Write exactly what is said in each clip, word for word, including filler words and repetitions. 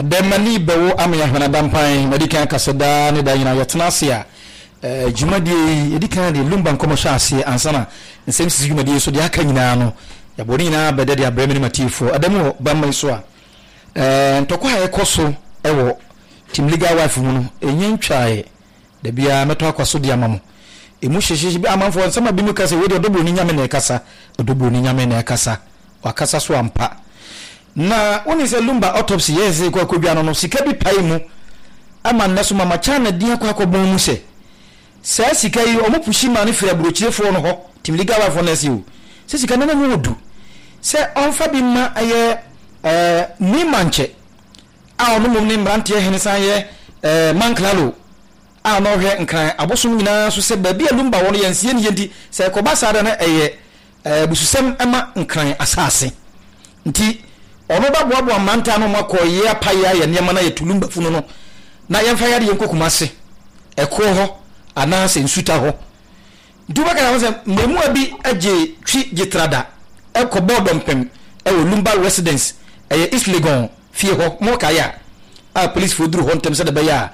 Ɔdɛmani bɛwo ama yɛahwɛ adampan. Madi kan kasa daa ne da nyinaa yɛtena ase a eh, dwumadie yi yɛdi kan de Lumba nkɔmmɔ hyɛ aseɛ ansa na nsɛm sisi dwumadie so deɛ aka nyinaa no, yɛabɔ ne nyinaa bɛdɛ de abrɛ me ne matiefoɔ. Ɛda mu wɔ bamma yi so a eh, ntɔkwa a ɛkɔ so ɛwɔ Team Legal Wife mu no ɛnyɛ ntwaeɛ. Da biara mɛtɔ akwa so de ama mo ɛmu hyehyehye bi. Amanfoɔ nsɛm a bi mu ka sɛ wei deɛ, Ɔdɔburoni Nyame na ɛkasa, Ɔdɔburoni Nyame na ɛkasa, wakasa so ampa. Na wone sɛ Lumba autopsy yɛ sɛ kɔ akɔdwa no no sika bi pae mu ama nnɛ so Mama China din akɔ akɔbɔn mu sɛ saa sika yi ɔmo push ma no firi aburokyirefoɔ no hɔ. Team Legal Wife no ɛsɛ o sɛ sika no na mu ɔdu sɛ ɔmfa bi ma ɛyɛ ɛɛ Nima nkyɛ a ɔno mmom ne mmeranteɛ hene san yɛ ɛɛ Manklalo a ɔno ɔhwɛ Nkran abosom nyinaa so sɛ baabi a Lumba wɔ no yɛnsie ne yɛ. Nti sɛ ɛkɔba saa da no, ɛyɛ ɛɛ bususɛm ɛma Nkran asase, nti ɔno bɛboaboa mmeranteɛ ano akɔ yɛ apayɛ ayɛ nneɛma na yɛtu Lumba funu no na yɛmfa yɛde yɛnkɔ Kumase ɛkoɔ hɔ anaasɛ Nsuta hɔ. Nti wobɛka ho sɛ mmaamua bi agye twi gye trada ɛkɔ bɔɔ dɔmpem ɛwɔ Lumba residence, ɛyɛ East Legon fie hɔ. Mo kaeɛ a a policefoɔ duru hɔ ntɛm sɛ de bɛyɛ a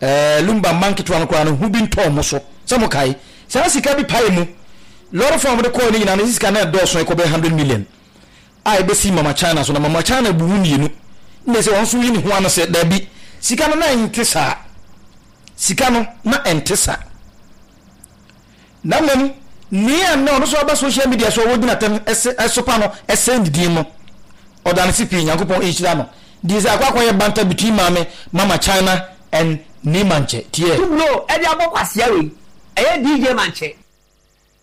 ɛɛ Lumba mma nketewa no koraa no ho bi ntɔɔ mo so sɛ mo kae saa sika bi pae mu lɔre fam a wɔde kɔɔ ne nyinaa no, sika no ɛdɔɔso, ɛkɔ bɛyɛ hundred million a ɛbɛsi Mama China so. Na Mama China bu mu mmienu ne sɛ wɔn nso yi ne ho ano sɛ daabi, sika no na ɛnte saa, sika no na ɛnte saa. Na mmom nea na ɔno nso aba social media so a wɔgyina tɛm ɛsɛ ɛsopa no ɛsɛn ne din no, ɔda ne si pii. Nyankopɔn nhyira no deɛ sɛ akɔ akɔyɛ banter between maame Mama China and Nima nkyɛ tiɛ. Tublo ɛde abɔ kwasia wei ɛyɛ D J Mankyɛ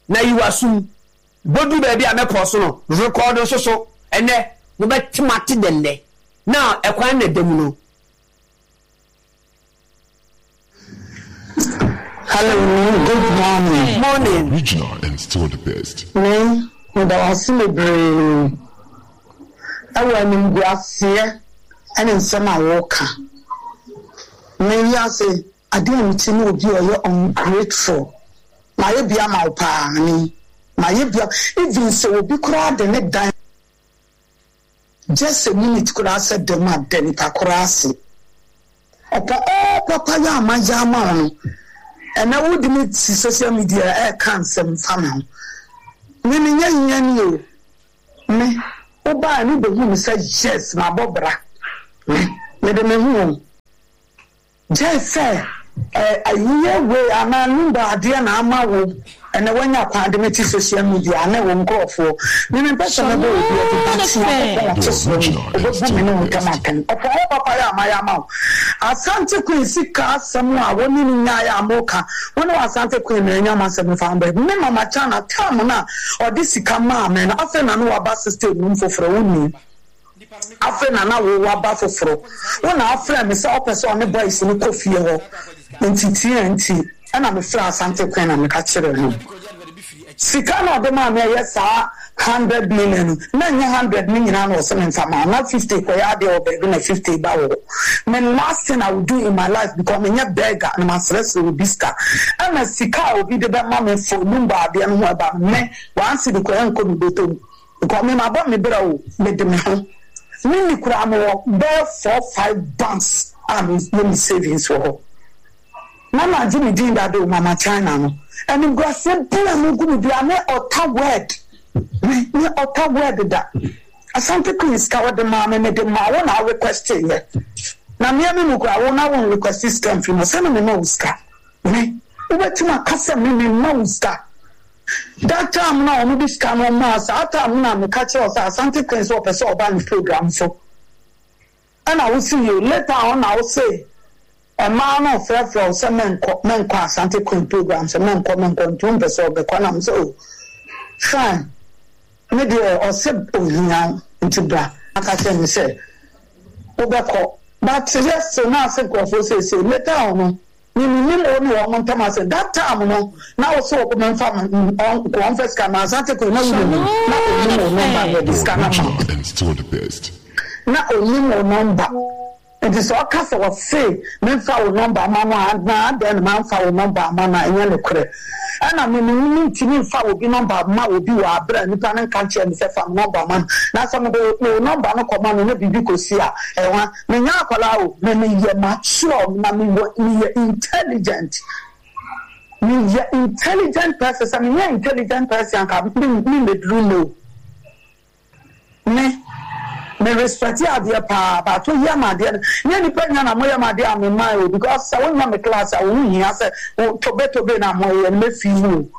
na yiwa sum bodu baabi a mɛkɔ so no record nso so ɛnɛ mobɛtema te dɛndɛ na ɛkwan na ɛda mu no. Hello, good morning. Morning. Original and still the best. Me, meda wo ase bebree ɛwɔ animguaseɛ ɛne nsɛm a wɔreka. Me wiase adeɛ a mete ne obi a ɔyɛ ungrateful. Mayɛ bi ama wo paa ne mayɛ bi, even sɛ obi koraa de ne dan just a minute koraa sɛ dɛm a da nipa koraa ase. Ɔpɔ ɔɔ papa yɛ ama yɛ ama wo no, ɛnɛ wode me si social media ɛɛka nsɛm fa me ho. Me menyɛ hiani o. Me wobaa ne bɛhu me sɛ yes, mabɔ bra. Me mede me ho o gye sɛ ayiyɛ wei anaa Lumba adeɛ na ama wo ɛnɛ woanya kwan de me te social media ne wo nkurɔfoɔ. Me mempɛ sɛ mɛbɔ obi adi, but Nyankopɔn ɔte soro no ɔbɛbu me ne wo ntam atɛn. Ɔpɔ wo papa yɛ ama yɛ ama wo. Asante Queen sika asɛm a wo ne no nyaeɛ a moka wo ne wɔ Asante Queen na ɛnya masɛm fa ho bɛ me. Mama China tam no a ɔde sika maa me no, afei na ne waba system no mu foforɔ. Wo nim afei na na wo waba foforɔ, wo na afrɛ me sɛ ɔpɛ sɛ ɔne boys no kɔ fie hɔ, nti tie nti ɛna mefrɛ Asante Queen na meka kyerɛ no sika na ɔde maa me ɛyɛ saa hundred million no, na nyɛ hundred ne nyinaa na ɔsɛ me nfa ma na fifty kɔyɛ adeɛ wɔ baabi na fifty ba wɔ hɔ. Me last thing I will do in my life, because menyɛ beggar na masrɛsrɛ obi sika, ɛna sika a obi de bɛma me for Lumba adeɛ no ho ɛba no, me one cedi kɔyɛ nkɔ mi bɔtɔ mu, because me ma bɔ me brɛ o, me de me ho me ni koraa. Me wɔ bɛɛ four five banks a me yɛ me savings wɔ hɔ na na agye me din dade o. Mama China no, animguaseɛ bi a mo gu me bia ne ɔta word me ne ɔta word da. Asante Queen sika wɔde maa me, mede maa wo na request yɛ na mmea mi mu kura wo na wo request sika mfiri mu sɛ na me ma wo sika. Me wobɛtumi aka sɛ me me ma wo sika that time na ɔmo de sika no maa saa time na meka kyerɛ wo sɛ Asante Queen sɛ ɔpɛ sɛ ɔba ne program so, ɛna wosi yɛ later on na wose mmaa no frɛfrɛ wo sɛ mɛnkɔ, mɛnkɔ Asante Queen program, sɛ mɛnkɔ, mɛnkɔ, nti wompɛ sɛ ɔbɛkɔ. Nam sɛ o fine, me deɛ ɔsɛ ohia wo nti bra aka kyerɛ me sɛ wobɛkɔ, but yes, na ase nkurɔfoɔ seesei later on no miminim wo ne wɔn ntam ase. That time no na wo sɛ wɔkɔ mɛmfa wɔmfa sika ma Asante Queen na wonim na onim wo number na yɛde sika no ma Original and still the best. Na onim wo number, nti sɛ ɔka sɛ wɔse memfa wo number ama no a, na adɛn na mamfa wo number ama no a, ɛnyɛ nokorɛ. Ɛna me me mentumi mfa obi number ma obi wɔ aberɛ a nipa no nka nkyerɛ me sɛ fa me number ma no. Na sɛ mede wo number no kɔma no na biribi kɔsi a, ɛwa. Menyɛ akwadaa o, me meyɛ mature na mewɔ meyɛ intelligent. Meyɛ intelligent person. Sɛ menyɛ intelligent person anka me memmɛduru nnɛ o. Me me respect adeɛ paa, but woyɛ me adeɛ no, nyɛ nipa nyina na moyɛ me adeɛ a me mmae o, because sɛ wonyɛ me class a wo ho hia sɛ wo tobe tobe na moyɛ no mɛfii mu o.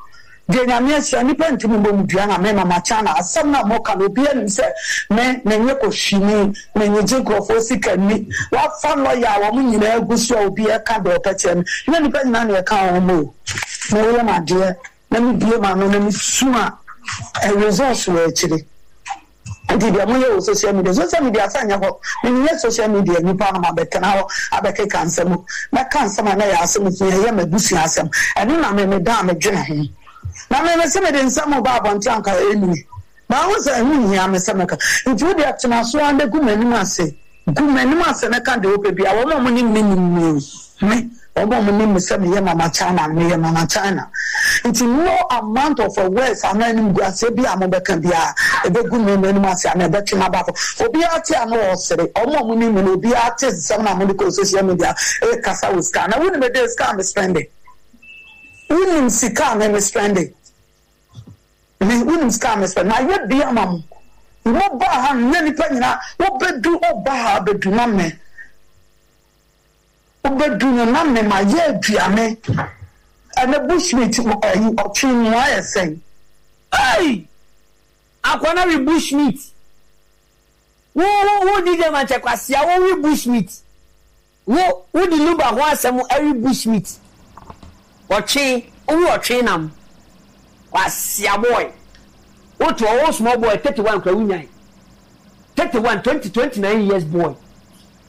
Deɛ Nyame ahyira nipa ntumi mmɔ mu dua na me Mama Chana asɛm no a moka no obiara nim sɛ me menyɛ kɔhwini, menyegye nkurɔfoɔ sika nni, wafa lawyer a wɔn nyinaa gu so a obiara ka deɛ ɔpɛ kyerɛ me, nyɛ nipa nyinaa na ɛka wɔn o. Me woyɛ me adeɛ na mebue m'ano na mesu a, results wɔ akyire. Nti deɛ moyɛ wɔ social media, social media sɛ nyɛ hɔ, menyɛ social media nipa no mabɛtena hɔ abɛkeka nsɛm o, mɛka nsɛm a na ɛyɛ asɛm hia, ɛyɛ m'abusua asɛm, ɛno na me meda a medwene ho. Na me mese mede nsɛm ba abɔnten anka ɛnni, mahu sɛ ɛho nhia me sɛ mɛka, nti wo deɛ tena so ara na gu m'anim ase, gu m'anim ase na ka deɛ wopɛ biara, wɔn a wɔnim me nim me o, me, wɔn a wɔnim me sɛ meyɛ Mama China no, meyɛ Mama China. Nti no amount of words anaa animguaseɛ bi a mobɛka biara, ɛbɛgu me m'anim ase anaa ɛbɛtwe m'aba fam. Obiara te a na ɔresere, wɔn a wɔnim me no, obiara te nsɛm na mode kɔ social media ɛrekasa wɔ sika. Na wonim ɛdɛ sika a me spende? Wonim sika a me me spende? Me, wonim sika a me spende? Mayɛ bi ama mo. Mo ba ha no, nyɛ nipa nyinaa, wobɛdu, woba ha abɛdu na me. Wobɛdu no na me ma yɛ aduane. Ɛnɛ bushmeat ɛyi ɔtwe mu ayɛ sɛn. Hey! Akwana we bushmeat. Wo wo wo D J Mankyɛ Kwasia wo we bushmeat. Wo wo di Lumba ho asɛm ɛwe bushmeat. Ɔtwe wo we ɔtwe nam. Kwasia boy. Wo to wo small boy thirty-one kura wo nyan. thirty-one, twenty, twenty-nine years boy.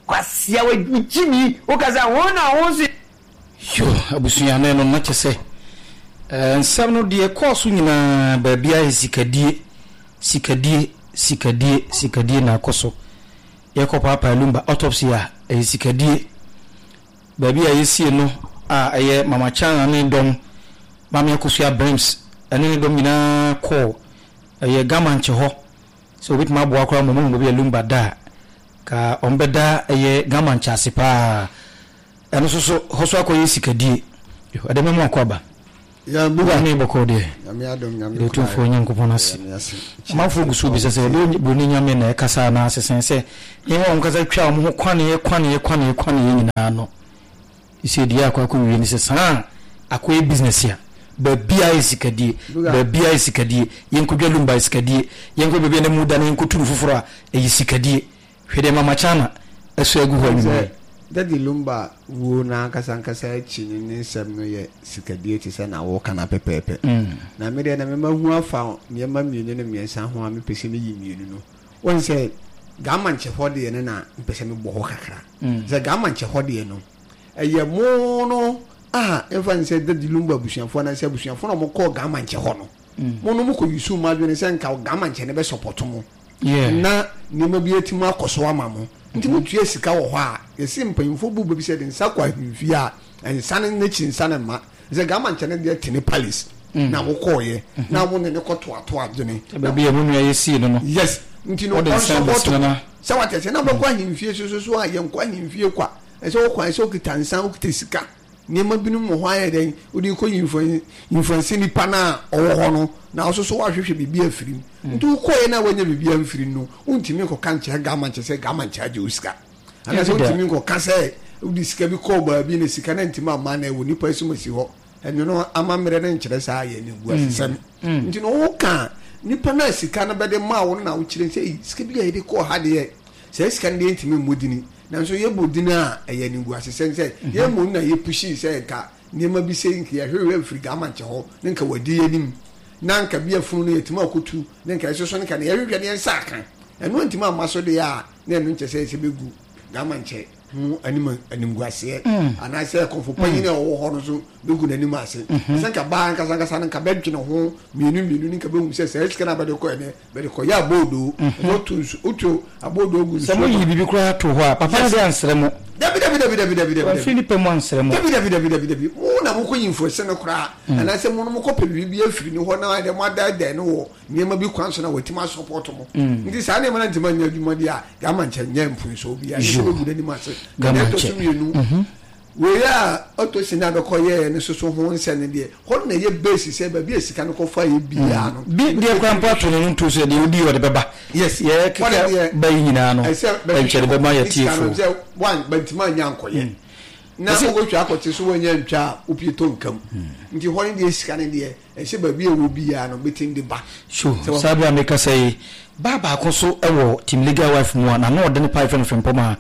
Kwasia we Jimmy wo kasa ho na ho si. Yo abusuane no na kyɛ sɛ nsɛm no deɛ kɔɔ so nyinaa baabi a sikadie sikadie sikadie sikadie na akɔ so. Yɛkɔ paapa Lumba autopsy a ɛyɛ sikadie. Baabi a yɛsie no a ɛyɛ Mama Chana ne dɔm Maame Akosua Brems ɛne ne dɔm nyinaa kɔɔ ɛyɛ Gamanche hɔ sɛ obɛtumi aboa koraa ma ɔmo hu baabi a Lumba da a ka ɔmbɛda ɛyɛ Gamanche ase paa. Ɛno nso so hɔ so akɔyɛ sikadie. Ɛdɛ mɛmo akɔ aba. Ya buga ne bɔkɔ deɛ. Nyame adom nyame kura. Otumfoɔ Nyankopɔn ase. Amanfoɔ gu so bisa sɛ ɛdɛ broni nyame na ɛkasa na asesɛn sɛ nneɛma wɔn kasa twa wɔn ho kwaneɛ kwaneɛ kwaneɛ kwaneɛ nyinaa no. Sɛ deɛ akɔ akɔ wie ne sɛ saa akɔyɛ business a baabi a yɛ sikadie, baabi a yɛ sikadie, yɛnkɔdwa Lumba yɛ sikadie, yɛnkɔ baabi a na mu da na yɛnkɔtu no foforɔ a ɛyɛ sikadie. Hwɛ deɛ Mama Chana ɛso agu hɔ anwummerɛ. Daddy Lumba wuo na ankasa ankasa akyi no ne nsɛm no yɛ sikadie te sɛ na wɔka na pɛpɛɛpɛ. Na me deɛ na mema hu afa nneɛma mmienu ne mmiɛnsa ho a mepɛ sɛ meyi mmienu no. Wɔn sɛ Gamanche hɔ deɛ no na mepɛ sɛ mebɔ hɔ kakra. Sɛ Gamanche hɔ deɛ no ɛyɛ mo no a ɛmfa ne sɛ Daddy Lumba abusuafoɔ anaasɛ abusuafoɔ na wɔkɔɔ Gamanche hɔ no. Mo no mokɔ yusu mo adwene sɛ nka Gamanche no bɛsɔpɔto mo. Na nneɛma bi atumi akɔ so ama mo. Nti motua sika wɔ hɔ a yɛsi mpanyinfoɔ bu baabi sɛ de nsa kɔ ahemfie a nsa no n'akyi nsa no mma. Sɛ Gamanche no deɛ te ne palace na wokɔɔyɛ na wo ne ne kɔtoato adwene. Baabi a mo nua yɛ sii no no. Yes. Nti no ɔnsɔpɔto. Sɛ wate sɛ na wobɛkɔ ahemfie so so so a yɛnkɔ ahemfie kwa. Ɛsɛ wokɔ ɛsɛ wokita nsa wokita sika. Nneɛma binom wɔ hɔ ayɛ dɛn wode kɔ influence nipa no a ɔwɔ hɔ no na ɔso so woahwehwɛ biribi afiri mu. Nti wokɔɛ na woanya biribi amfiri no wontumi nkɔka nkyerɛ Gamanche sɛ Gamanche agye wo sika. Anaasɛ wontumi nkɔka sɛ wode sika bi kɔɔ baabi na sika no ntumi amma na ɛwɔ nipa asom asi hɔ. Ɛno no amammerɛ no nkyerɛ saa yɛ ne gu asesɛm. Nti no woka nipa no a sika no bɛde maa wo no na wokyerɛ sɛ sika bi a yɛde kɔɔ ha deɛ sɛ sika no deɛ ntumi mmɔ dini. Nanso yɛbɔ dini a ɛyɛ ne gu asesɛm sɛ yɛmmɔ na yɛpushi sɛ nka nneɛma bi sɛ nka yɛhwehwɛ mfiri Gamanche hɔ ne nka wadi anim na nka bi afunu no yɛtumi akɔtu ne nka ɛsoso ne nka ne yɛhwehwɛ ne yɛnsa aka ɛno ntumi amma so deɛ a na ɛno nkyɛ sɛ ɛsɛ bɛgu Gamanche ho anim animguaseɛ anaasɛ kɔmfo panyin a ɔwɔ hɔ no so bɛgu n'anim ase. Sɛ nka baa nkasa nkasa no nka bɛdwene ho mmienu mmienu ne nka bɛhu sɛ sɛ sika no abɛde kɔ ɛnɛ bɛde kɔ yɛ aboodo otu nsu otu aboodo gu nsu. Sɛ mo yi biribi koraa to hɔ a papa no de ansrɛ mo. Dabi dabi dabi dabi dabi dabi. Wamfiri nipa mu ansrɛ mo. Dabi dabi dabi dabi dabi. Mo na mokɔ influence no koraa anaasɛ mo no mokɔpɛ biribi afiri ne hɔ na ayɛ dɛ moadaadae no wɔ nneɛma bi kwan so na watumi asupport mo. Nti saa nneɛma no ntumi anyɛ adwuma deɛ a, Gama nkyɛ nyɛ mfonsoɔ biara. Ɛnyɛ sɛ bɛgu n'anim ase. Na deɛ ɛtɔ so mmienu, wei a ɔtɔ sin a bɛkɔ yɛɛ no soso ho nsɛ no deɛ, hɔ na ɛyɛ base sɛ baabi a sika no kɔfa yɛ biara no. Bi deɛ koraa mpo ato no no nto sɛ deɛ odi ɔde bɛba. Yes. Yɛ keka ba yi nyinaa no, ɛnkyɛ de bɛma yɛ tiefoɔ. Sɛ one bɛntumi anya ankɔyɛ. Na wokɔtwa akɔte so wanya ntwa a wopie tɔ nkam. Nti hɔ no deɛ sika no deɛ ɛsɛ baabi a ɛwɔ biara no bɛtumi de ba. So saa bere a mekasa yi, baa baako nso wɔ Team Legal Wife mu a n'ano ɔdene paa yɛfrɛ no Frimpong a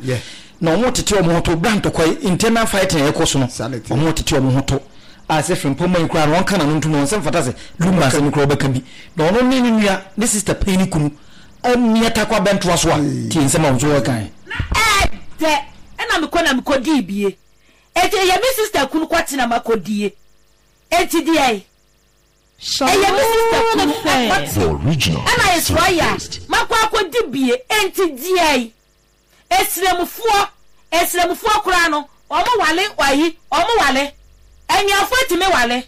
na wɔretete wɔn ho to bere a ntɔkwa yi, internal fighting a ɛrekɔ so no, wɔretete wɔn ho to a sɛ Frimpong yi koraa no ɔnka n'ano ntom, ɔnsɛ mfata sɛ Lumba asɛm yi koraa ɔbɛka bi. Na ɔno ne ne nua, ne sister panyin no kunu amia takwa bɛntoa so a, tie nsɛm a wɔn nso wɔreka. Na ɛɛdɛ ɛna mekɔ na mekɔdii bie. Enti ɛyɛ me sister kunu kɔte na makɔdie. Enti deɛn? Ɛyɛ me sister kunu ɛkɔte ɛna Israel makɔ akɔdi bie. Enti deɛn? Esremfoɔ, Esremfoɔ koraa no, wɔn wale ayi, wɔn wale. Anuafoɔ tumi wale.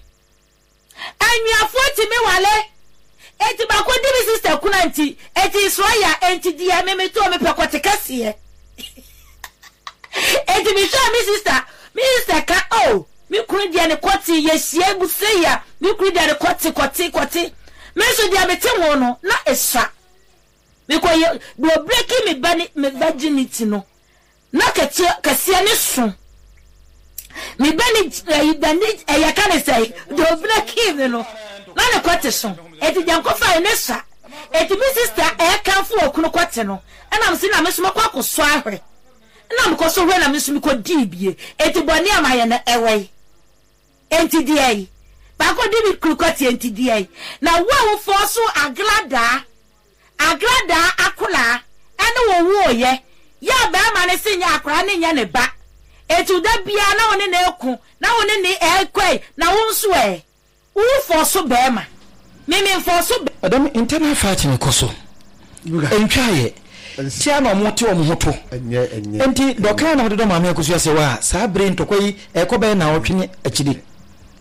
Anuafoɔ tumi wale. Enti baako di me sister kuna nti, enti Israel, enti deɛ me metoo mepɛ kɔte kɛseɛ. Enti mehwɛɛ me sister, me sister ka, oh, me kunu deɛ ne kɔte, yɛhyia mu sei a, me kunu deɛ ne kɔte, kɔte, kɔte. Me nso deɛ mete ho no, na esua. Mekɔ yɛ, deɛ ɔbreki me ba ne, me virginity no, na kɛteɛ, kɛseɛ ne so. Me ba ne, ɛyi, ba ne, ɛyɛ ka ne sɛ, deɛ ɔbreki me no, na ne kɔte so. Enti deɛ nkɔfa yɛ ne sua. Enti me sister ɛɛkamfo wɔ kunu kɔte no, ɛna me se na me nso mɛkɔ akɔsɔ ahwɛ. Na mekɔ so hwɛ na me nso mekɔdii bie. Enti bɔne a mayɛ no ɛwɔ yi. Enti deɛ yi. Baako di me kunu kɔte enti deɛ yi. Na wo a wofɔɔ so agradaa, agradaa akoraa ɛne wo wooyɛ, yɛ a barima no se nyɛ akoraa ne nyɛ ne ba. Enti da biara na wo ne no eko, na wo ne ne ɛkɔe, na wo nso ɛ. Wo fɔɔ bɛrima. Me me mfɔɔ so bɛrima. Ɛdɛm internal fighting kɔ so. Ntwa yɛ. Tia na ɔmo te ɔmo ho to. Enti dɔkan na ɔde dɔ maame Akosua sɛ wa saa bere ntɔkwa yi ɛkɔ bɛyɛ na ɔtwe ne akyiri.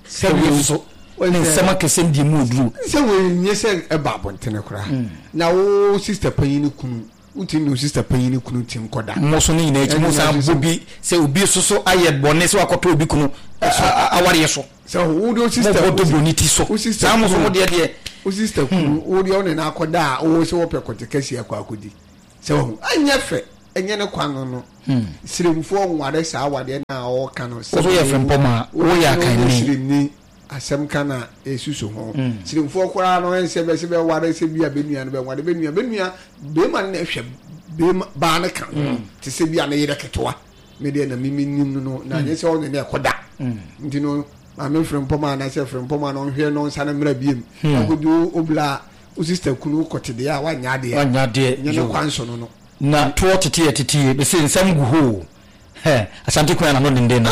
Sɛ wei nso ne nsɛm akɛsɛm di mu oduru. Sɛ wei nyɛ sɛ ɛba abɔntene koraa. Na wo sister panyin ne kunu, wotumi ne wo sister panyin ne kunu ti nkɔda. Mo so ne nyinaa akyi mo san bɔ bi sɛ obi soso ayɛ bɔne sɛ wakɔtɔ obi kunu awareɛ so. Sɛ wo de wo sister mo bɔ dobro ne ti so. Saa mo so mo deɛ deɛ. Wo sister kunu wo deɛ ɔne na akɔda a wo sɛ wɔpɛ kɔte kɛseɛ akɔ akɔdi. Sɛ wɔn ɛnyɛ fɛ ɛnyɛ ne kwan no no. Siremfoɔ nware saa awadeɛ na ɔɔka no. Wo so yɛ Frimpong a woyɛ akanni. Siremni asɛm ka na esusu ho. Siremfoɔ koraa no ɛnsɛ bɛ sɛ bɛware sɛ bi a bɛnua no bɛware bɛnua bɛnua bɛrima no na ɛhwɛ bɛrima baa no ka ho te sɛ bi a ne yerɛ ketewa. Me deɛ na mimi nim no no na nyɛ sɛ ɔne ne ɛkɔda. Nti no maame Frimpong a na sɛ Frimpong a no ɔnhwɛ no nsa no mmra biem. Akɔdi obla wo sister kunu kɔte deɛ a wanyɛ adeɛ. Wanyɛ adeɛ. Nyɛ ne kwan so no no. Na toɔ tete yɛ tete yɛ bɛsɛ nsɛm gu hɔ. Asante kwan na no denden no.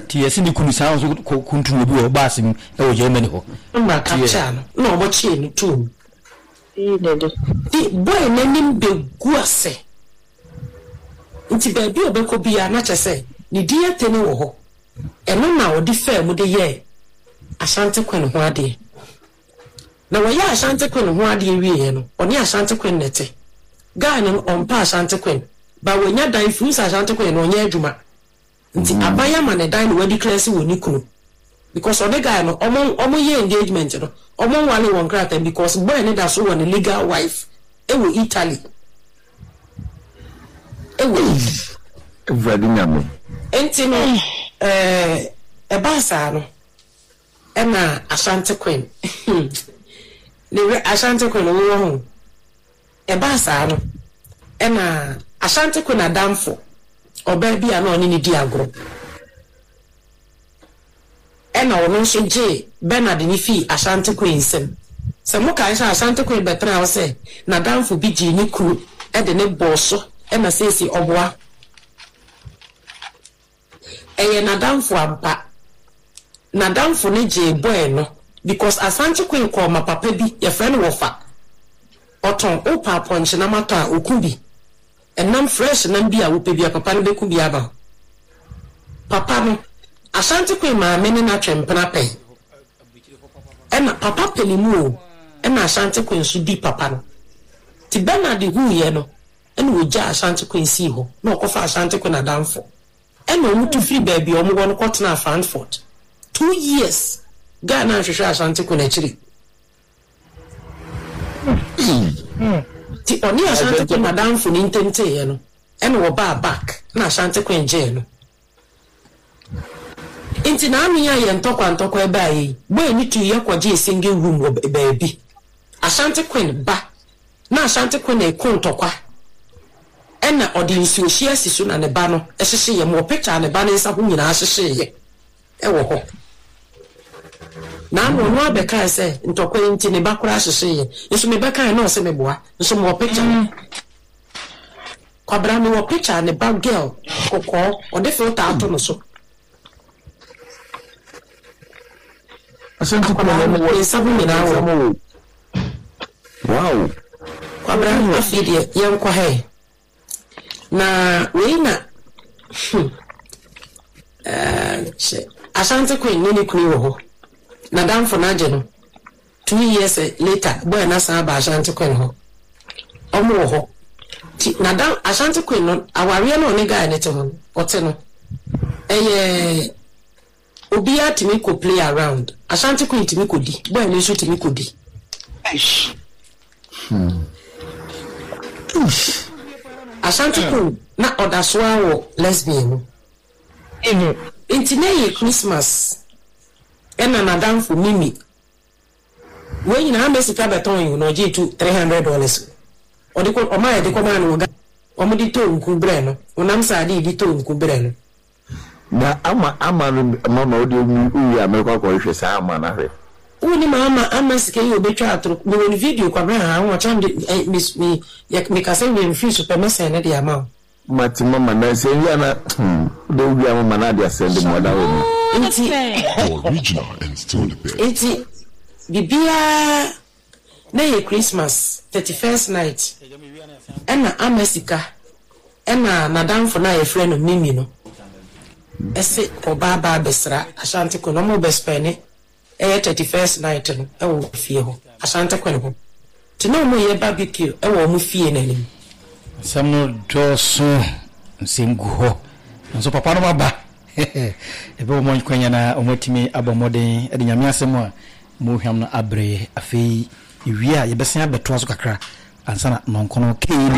Ti yɛ sɛ ne kunu saa nso kuntun obi wɔ baase mu ɛwɔ Germany hɔ. Mmra capture no na ɔmo kyee no too mu. Nti boy n'anim begu ase. Nti baabi a ɔbɛkɔ biara na kyerɛ sɛ ne din atene wɔ hɔ. Ɛno na ɔde faa mu de yɛɛ Ashanti Queen ho adeɛ. Na wɔyɛ Ashanti Queen ho adeɛ wieɛ no, ɔne Ashanti Queen na ɛte. Guy no ɔmpa Ashanti Queen. Ba wɔnya dan firi sɛ Ashanti Queen no ɔnyɛ adwuma. Nti aban ama ne dan na wɔadi clear sɛ wɔ ne kunu. Because ɔne guy no, ɔmo ɔmo yɛ engagement no, ɔmo nwale wɔn krataa because boy ne da so wɔ ne legal wife ɛwɔ Italy. Ɛwɔ Italy. Awurade Nyame. Nti no, ɛɛ ɛbaa saa no, ɛna Ashanti Queen. Ne werɛ Ashanti Queen wowɔ ho. Ɛbaa saa no, ɛna Ashanti Queen adamfo, ɔbaa bi a na ɔne ne di agorɔ. Ɛna ɔno nso gyee Bernard ne fii Ashanti Queen nsam. Sɛ mokae sɛ Ashanti Queen bɛtena hɔ sɛ n'adamfo bi gyee ne kunu ɛde ne bɔɔ so ɛna seesie ɔboa. Ɛyɛ n'adamfo ampa. N'adamfo ne gyee boy no because Ashanti Queen kɔɔ ma papa bi yɛfrɛ no wɔfa. Ɔtɔn wopɛ apɔnkye nam atɔ a oku bi. Ɛnam fresh nam bi a wopɛ bi a papa no bɛku bi aba. Papa no Ashanti Queen maame ne n'atwe mpena pɛn. Ɛna papa pɛ ne mu o, ɛna Ashanti Queen nso di papa no. Nti Bernard huiɛ no, ɛna ɔgyaa Ashanti Queen sii hɔ, na ɔkɔfaa Ashanti Queen adamfo. Ɛna wɔn tu firi baabi a wɔn wɔ no kɔtenaa Frankfurt. Two years, guy no anhwehwɛ Ashanti Queen akyiri. Nti ɔne Ashanti Queen adamfo no ntam teeɛ no, ɛna wɔbaa back, ɛna Ashanti Queen gyee no. Nti naano yi a yɛn ntɔkwa ntɔkwa yi baeɛ yi, boy no tuu yɛ kɔgyee single room wɔ baabi. Ashanti Queen ba, na Ashanti Queen reko ntɔkwa, ɛna ɔde nsuohyeɛ asi so na ne ba no hyehyeeɛ. Mewɔ picture a ne ba no nsa ho nyinaa hyehyeeɛ wɔ hɔ. Naano ɔno ara bɛkae sɛ ntɔkwa yi nti ne ba koraa hyehyeeɛ. Nso mebɛkae na ɔse meboa. Nso mewɔ picture no. Kwabena mewɔ picture a ne ba girl kɔkɔɔ ɔde filter ato no so. Akwadaa no ne nsa ho nyinaa wɔ hɔ. Wow. Kwabena afei deɛ yɛnkɔ ha ɛ. Na wei na hmm eh, hyɛ Ashanti Queen ne ne kunu wɔ hɔ. N'adamfo no agye no. Two years later boy no asan aba Ashanti Queen hɔ. Ɔmo wɔ hɔ. Nti n'adam Ashanti Queen no awareɛ no a ɔne guy no te ho no ɔte no ɛyɛ obiara tumi kɔ play around. Ashanti Queen tumi kɔ di, boy no nso tumi kɔ di. Eish. Ashanti Queen na ɔda so ara wɔ lesbian mu. Nti na ɛyɛ Christmas ɛna n'adamfo Mimi. Wei nyinaa ama sika bɛtɔn yi o na ɔgyee two three hundred dollars o. Ɔde kɔ ɔmaa yɛde kɔmaa no wɔ Ghana. Wɔde tɔɔ nku brɛɛ no. Honam sradeɛ de tɔɔ nku brɛɛ no. Na ama ama no mama wo deɛ wo wie a mɛkɔ akɔhwehwɛ saa ama no ahwɛ. Wonim ama ama sika yi obetwa atoro mewɔ ne video kwabena haa ho ɔkyena mede eh, me me yɛ mekasa wie mefiri so pɛ mɛsɛn ne de ama wo. Mate mama na sɛ wie a na hmm wode wo wie a mama na ade asɛnde ma ɔda hɔ mu. Nti The original and still the best. Nti bibiaa na yɛ Christmas thirty first night ɛna ama sika ɛna nadamfo no a yɛfrɛ no Mimi no ɛse ɔba aba abɛsra Ashanti Queen ɔmo bɛ spɛne ɛyɛ thirty first night no wɔ fie hɔ, Asante Queen hɔ. Nti na ɔmo yɛ barbecue wɔ ɔmo fie no anim. Nsɛm no dɔɔso, nsɛm gu hɔ, nanso papa nom aba. Yɛbɛbɔ wɔn akwanya na wɔatumi abɔ mmɔden de Nyame asɛm a mu hwam no abrɛ yɛ. Afei yɛwie a yɛbɛsan abɛtoa so kakra ansa na nnɔnkɔnɔ kei na.